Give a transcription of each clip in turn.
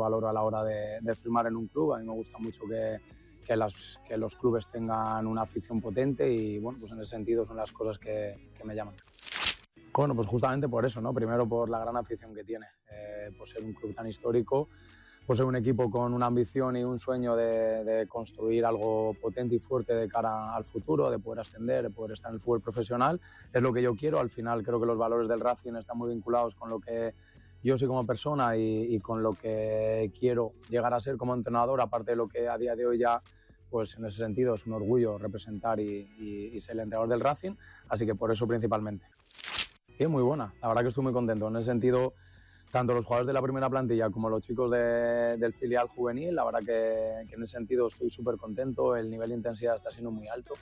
valoro a la hora de firmar en un club. A mí me gusta mucho que los clubes tengan una afición potente y bueno, pues en ese sentido son las cosas que me llaman. Bueno, pues justamente por eso, ¿no? Primero por la gran afición que tiene, por ser un club tan histórico, por ser un equipo con una ambición y un sueño de construir algo potente y fuerte de cara al futuro, de poder ascender, de poder estar en el fútbol profesional. Es lo que yo quiero. Al final creo que los valores del Racing están muy vinculados con lo que yo soy como persona y con lo que quiero llegar a ser como entrenador, aparte de lo que a día de hoy ya, pues en ese sentido es un orgullo representar y ser el entrenador del Racing, así que por eso principalmente. Y es muy buena, la verdad que estoy muy contento. En ese sentido, tanto los jugadores de la primera plantilla como los chicos del filial juvenil, la verdad que en ese sentido estoy súper contento. El nivel de intensidad está siendo muy alto.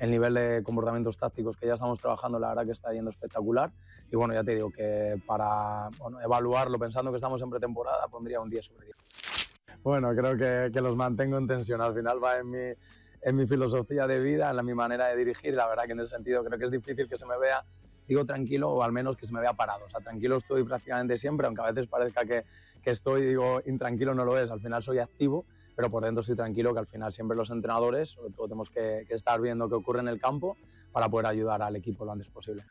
El nivel de comportamientos tácticos que ya estamos trabajando, la verdad que está yendo espectacular. Y bueno, ya te digo que para evaluarlo, pensando que estamos en pretemporada, pondría un 10 sobre 10. Bueno, creo que los mantengo en tensión. Al final va en mi filosofía de vida, en mi manera de dirigir. La verdad que en ese sentido creo que es difícil que se me vea, digo, tranquilo, o al menos que se me vea parado. O sea, tranquilo estoy prácticamente siempre, aunque a veces parezca que estoy, digo, intranquilo no lo es. Al final soy activo, pero por dentro estoy tranquilo, que al final siempre los entrenadores, sobre todo, tenemos que estar viendo qué ocurre en el campo para poder ayudar al equipo lo antes posible.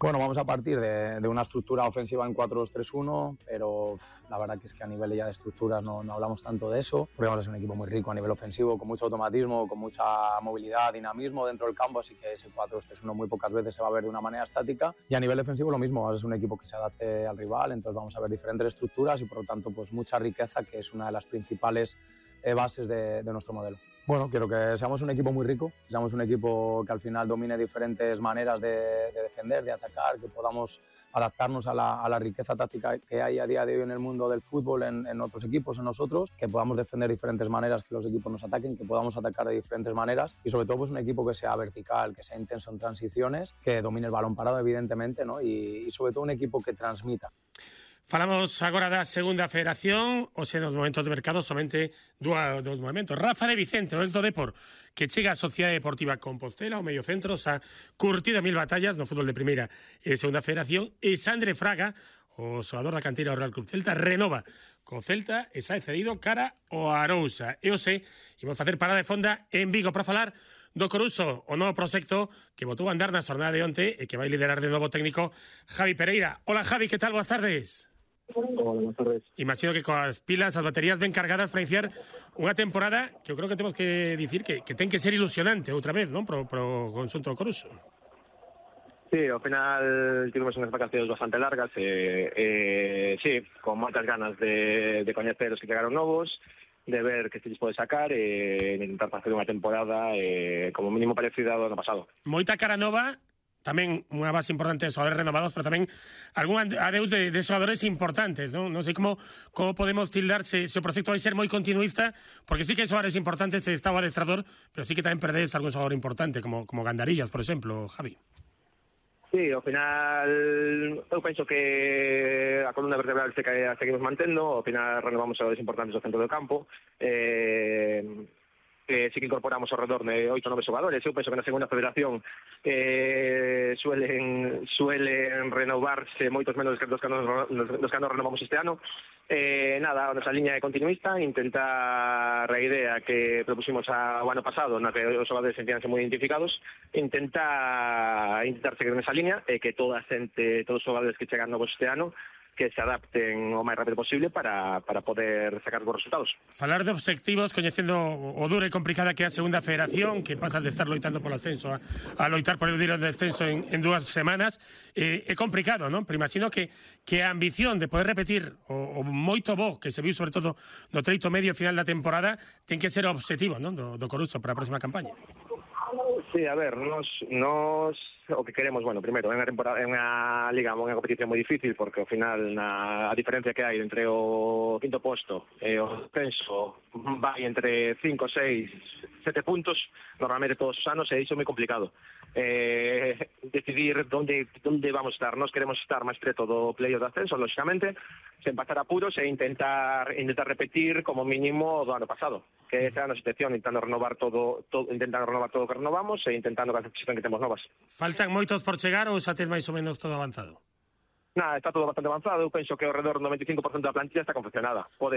Bueno, vamos a partir de una estructura ofensiva en 4-2-3-1, pero la verdad que es que a nivel ya de estructuras no hablamos tanto de eso, porque vamos a ser un equipo muy rico a nivel ofensivo, con mucho automatismo, con mucha movilidad, dinamismo dentro del campo, así que ese 4-2-3-1 muy pocas veces se va a ver de una manera estática. Y a nivel defensivo lo mismo, vamos a ser un equipo que se adapte al rival, entonces vamos a ver diferentes estructuras y por lo tanto pues mucha riqueza, que es una de las principales bases de nuestro modelo. Bueno, quiero que seamos un equipo muy rico, que seamos un equipo que al final domine diferentes maneras de defender, de atacar, que podamos adaptarnos a la riqueza táctica que hay a día de hoy en el mundo del fútbol, en otros equipos, en nosotros, que podamos defender de diferentes maneras, que los equipos nos ataquen, que podamos atacar de diferentes maneras y sobre todo pues un equipo que sea vertical, que sea intenso en transiciones, que domine el balón parado evidentemente, ¿no? y sobre todo un equipo que transmita. Falamos agora da segunda federación, hoxe nos momentos de mercado somente dos momentos. Rafa de Vicente, o ex do Depor, que chega a Sociedade Deportiva Compostela, o medio centro, xa curtido 1000 batallas no fútbol de primeira e segunda federación, e Sandre Fraga, o xogador da canteira do Real Club Celta, renova co Celta e xa é cedido cara ao Arousa. E hoxe imos facer parada de fonda en Vigo para falar do Coruso, o novo proxecto que botou a andar na xornada de onte e que vai liderar de novo técnico Javi Pereira. Hola Javi, que tal? Boas tardes. Hola, buenas tardes. Imagino que coas pilas, as baterías ben cargadas para iniciar unha temporada que eu creo que temos que dicir que ten que ser ilusionante outra vez, non? Pro conxunto do Coruso. Sí, ao final tivemos unhas vacacións bastante largas sí, con moitas ganas de coñecer os que chegaron novos, de ver que se lles pode sacar e intentar facer unha temporada como mínimo parecida ao ano pasado. Moita cara nova, tamén unha base importante de xogadores renovados, pero tamén algún adeus de xogadores importantes, non? Non sei como podemos tildar se o proxecto vai ser moi continuista, porque sí que hai xogadores importantes, está o adestrador, pero sí que tamén perdedes algún xogador importante, como Gandarillas, por exemplo, Javi. Sí, ao final eu penso que a columna vertebral se seguimos mantendo, ao final renovamos xogadores importantes do centro do campo, sí que incorporamos ao redor de 8 ou 9 xogadores. Eu penso que na segunda federación suelen renovarse moitos menos dos que nos renovamos este ano. Nada, a nosa liña é continuista, intentar a idea que propusimos o ano pasado, na que os xogadores sentíanse moi identificados, intentar seguir nesa liña e que todos os xogadores que chegan novos este ano que se adapten o máis rápido posible para poder sacar bons resultados. Falar de obxectivos, coñecendo o dura e complicada que é a segunda federación, que pasas de estar loitando polo ascenso a loitar por el de descenso en 2 semanas, é complicado, non? Pero imagino que a ambición de poder repetir o moito bo que se viu sobre todo no treito medio final da temporada ten que ser o obxectivo, non? Do Coruso para a próxima campaña. Sí, a ver, nos o que queremos, bueno, primeiro, é unha liga, unha competición moi difícil, porque ao final a diferencia que hai entre o quinto posto e o descenso vai entre 5, 6, 7 puntos, normalmente todos os anos, e iso é moi complicado. Decidir onde vamos estar. Nós queremos estar máis preto do playoff do ascenso, lógicamente, sen pasar apuros e intentar repetir como mínimo do ano pasado, que esa é a nosa intención, intentando renovar todo o que renovamos e intentando que as posicións que temos novas. Faltan moitos por chegar ou xa tes máis ou menos todo avanzado? Nada, está todo bastante avanzado. Eu penso que ao redor do 95% da plantilla está confeccionada. Pode